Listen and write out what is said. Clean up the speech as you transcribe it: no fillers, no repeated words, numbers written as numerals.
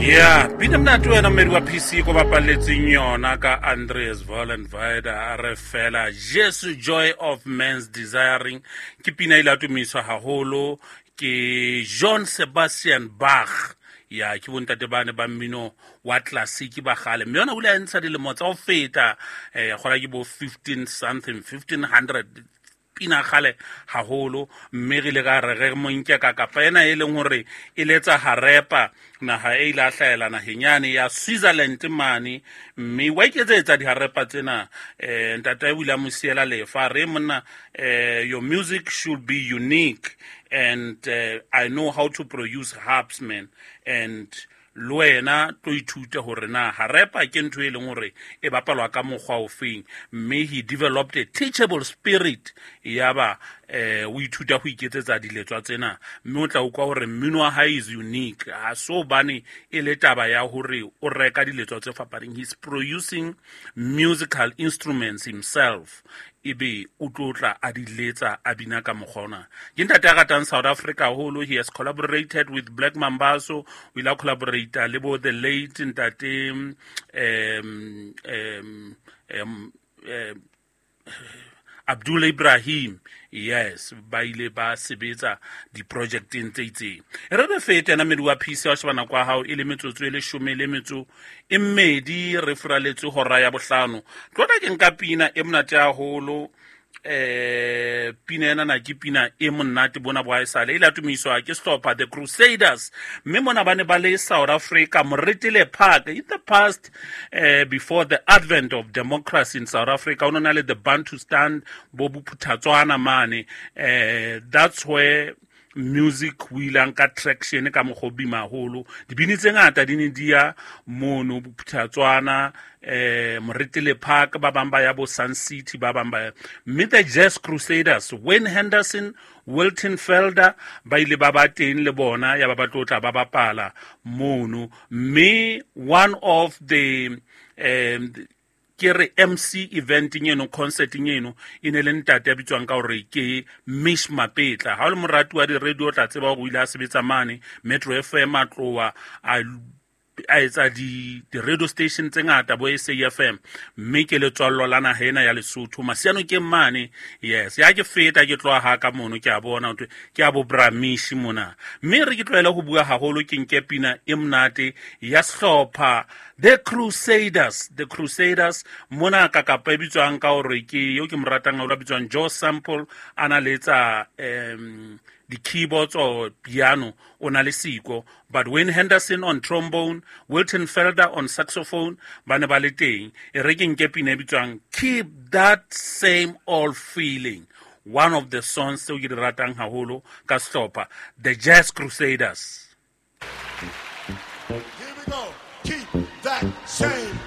Ya pina monate wena mmedi wa PC ko bapalletseng yona ka Andreas Vollenweider, a re fela Jesu joy of man's desiring. Ke pina ile a tumiswa haholo ke John Sebastian Bach. Ya ke bontate bane ba mmino wa classic ba gale, mme yona o ile a ntsha dilemo tsa ho feta, gola ke bo 15 something, 1500, pina gale haholo. Mme re ile ka re re mo nke ka kapa ena e leng hore e letsa harepa, naha e ile a hlahela naheng yane ya Switzerland mane, mme wa iketsetsa diharepa tsena. Ntate o ile a mo siela lefa, re monna, your music should be unique and I know how to produce harps, man, and le wena tlo ithute hore na harepa ke ntho e leng hore e bapalwa ka mokgwa ofeng. Mme he developed a teachable spirit, yaba o ithuta ho iketsetsa diletswa tsena, mme o tla utlwa hore mmino wa hae is unique. Ha so bane e le taba ya hore o reka diletswa tse fapaneng, he's producing musical instruments himself, ebe o tlo tla a di letsa, a bina ka mokgwa ona. Ke ntate a ratang South Africa haholo. He has collaborated with Black Mambazo, o ile a collaborata le bo the late ntate Abdul Ibrahim. Yes, ba ile ba sebetsa di-projecteng tse itseng. E re re fete ena mmedi wa PC wa sheba nako ya hao e le metsotso e 12 re furaletse hora ya 5. Tlota ke nka pina e monate haholo. Pina ena na ke pina e monate bona bo haesale e ile ya tumiswa ke sehlopha The Crusaders, mme mona ba ne ba le South Africa, Moretele Park. In the past, before the advent of democracy in South Africa, o no na le the Bantustan bo Bophuthatswana mane. That's where music o ile a nka traction ka mokgwa o boima haholo. Dibini tse ngata di ne di ya mono Bophuthatswana, Moretele Park, ba bang ba ya bo Sun City, ba bang ba ya. Mme the Jazz Crusaders, Wayne Henderson, Wilton Felder, ba ile ba ba teng le bona, ya ba ba tlo tla ba bapala mono. Mme one of the ke re MC event eno, concert eno, e ne le ntate ya bitswang ka hore ke Mish Mapetla. Ha o le morati wa di-radio o tla tseba hore o ile a sebetsa mane Metro FM, a tloha a etsa di-radio station tse ngata bo SAFM, mme ke letswallo la naha ena ya Lesotho, Masiano ke mane. Yes, ya ke feta ke tloha ha ka mono, ke a bona hore ke a bo Bramishi mona. Mme re ke tlohele ho bua haholo, ke nke pina e monate ya sehlopha The Crusaders. The Crusaders mona ka kapa e bitswang ka hore ke eo ke mo ratang haholo, a bitswang Joe Sample, a na letsa di-keyboards or piano, o na le siko, but Wayne Henderson on trombone, Wilton Felder on saxophone, ba ne ba le teng. E re ke nke pina e bitswang Keep That Same Old Feeling, one of the songs tseo ke di ratang haholo ka sehlopha The Jazz Crusaders. Here we go. Keep that same